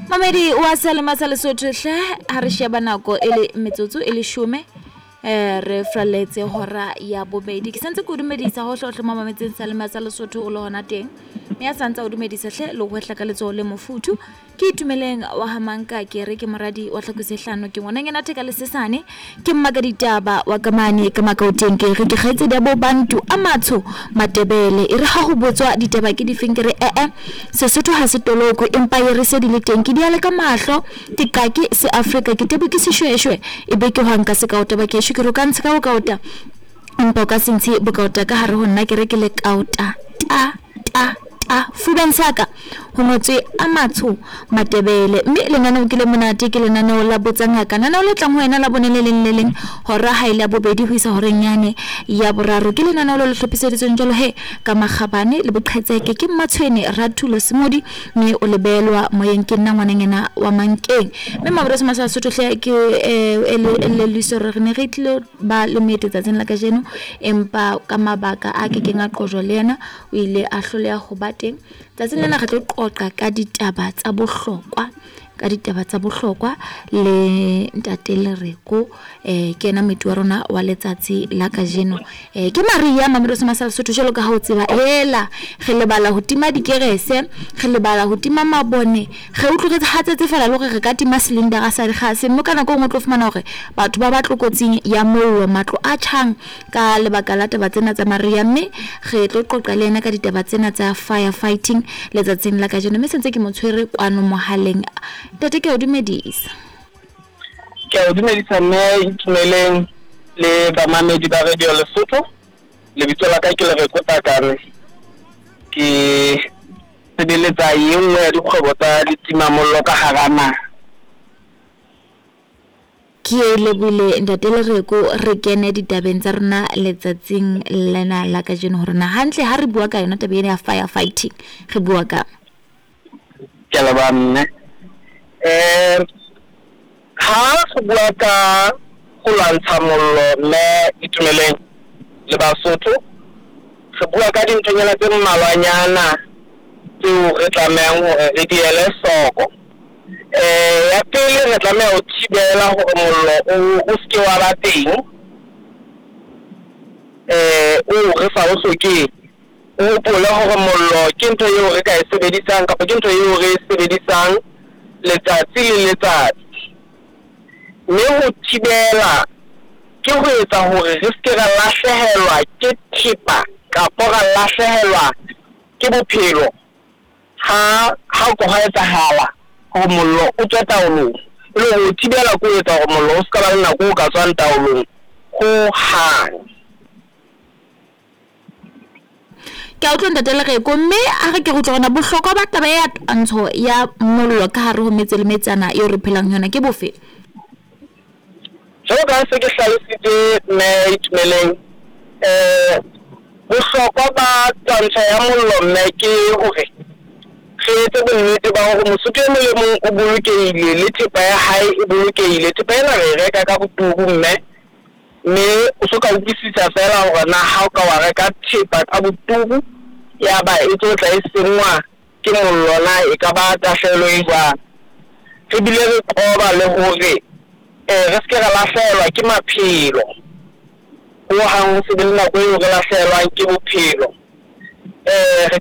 Mamedi wa Selema sa Lesotho hle ha re sheba nako e le metsotso e leshome re fraletse hora ya bobedi. Ke santse ke o dumedisa hohle hohle mo mametseng Selema sa Lesotho o le hona teng. Mme a santse o dumedisa hle le ho hwehla ka letsoho le mofuthu. Ke Itumeleng wa ha Manka ke re ke moradi wa Tlhakose hlano ke ngwananyana theka le sesane ke mmaka ditaba wa kamane ka makaoteng ke re ke kgaitsedi ya bo Bantu a matsho Matebele e re ha ho botswa ditaba ke difeng ke re ee Sesotho ha se toloko empa e re se di le teng ke di ale ka mahlo ke qake se Afrika ke tebo ke seshweshwe e be ke hwanka sekaota bakesho ke re o ka ntshe ka bokaota empa o ka se ntshe bokaota ka hare ho nna ke re ke le kaota ta ta ta fubeng sa ka ho ngotswe a matsho Matebele mme lenaneo ke le monate ke lenaneo la Botsa Ngaka lenaneo le tlang ho wena la bone le leng le leng hora ha e le ya bobedi ho isa horeng yane ya boraro ke lenaneo le le hlophiseditsweng jwalo he ka makgabane le boqhetseke ke Mmatshwene Rathulo Semodi mme o le beelwa moyeng ke nna ngwananyana wa Mankeng mme Maboreso Masa Sotho hle ke elelliswa hore re ne re tlilo ba le moeti tsatsing la kajeno empa ka mabaka a kekeng a qojwa le yena o ile a hloleha ho ba teng. Tsatsing lena re tlo qoqa ka ditaba tsa bohlokwa ka ditaba tsa bohlokwa le ntate Lereko ke yena moeti wa rona wa letsatsi la kajeno. Ke Maria Mamelodi Masa Lesotho jwalo ka ha o tseba hela re lebala ho tima dikerese re lebala ho tima mabone re utlwe re hatsetse fela le hore re ka tima cylinder sa dikgase mme ka nako e nngwe o tlo fumana hore batho ba ba tlokotsing ya mollo matlo a tjhang ka lebaka la taba tsena tsa Maria mme re tlo qoqa le yena ka ditaba tsena tsa fire fighting letsatsing la kajeno mme sentse ke mo tshwere kwano mohaleng. Ntate ke a o dumedisa. Ke a o dumedisa mme Itumeleng le bamamedi ba Radio Lesotho. Lebitso la ka ke Lereko Takane. Ke sebeletsa e nngwe ya dikgwebo tsa ditimamollo ka hara naha. Ke lebohile ntate Lereko re kene ditabeng tsa rona letsatsing lena la kajeno hore na hantle ha re bua ka yona taba ena ya fire fighting re bua ka. Ke a leboha mme. Ha re bua ka ho lwantsha mollo mme Itumeleng le Basotho re bua ka dinthonyana tse mmalwanyana tseo re tlamehang hore re di ele hloko. Ya pele re tlameha ho thibela hore mollo o seke wa ba teng oo re sa o hlokeng. O hopole hore mollo ke ntho eo re ka e sebedisang kapa ke ntho eo re e sebedisang letsatsi le letsatsi. Mme ho thibela ke ho etsa hore re seke ra lahlehelwa ke thepa kapa ra lahlehelwa ke bophelo ha ha ko ha etsahala hore mollo o tswe taolong. E le hore ho thibela ke ho etsa hore mollo o ska ba le nako o ka tswang taolong ho hang. Ke a utlwa ntate Lereko mme a re ke re utlwa hore na bohlokwa ba taba ya twantsho ya mollo ka hare ho metse le metsana eo re phelang ho yona ke bofe? Jwalo ka ha se ke hlalositse mme Itumeleng bohlokwa ba twantsho ya mollo mme ke hore re etse bonnete ba hore Mosotho e mong le mong o bolokehile le thepa ya hae e bolokehile. Thepa ena re e reka ka boturu mme mme o so ka utlwisisa fela hore na ha o ka wa reka thepa ka boturu ya ba e tlo tla e senngwa ke mollo na e ka ba tahlehelo e jwang. Re bile re qoba le hore re seke ra lahlehelwa ke maphelo ho hang ho se be le nako eo re lahlehelwang ke bophelo. Re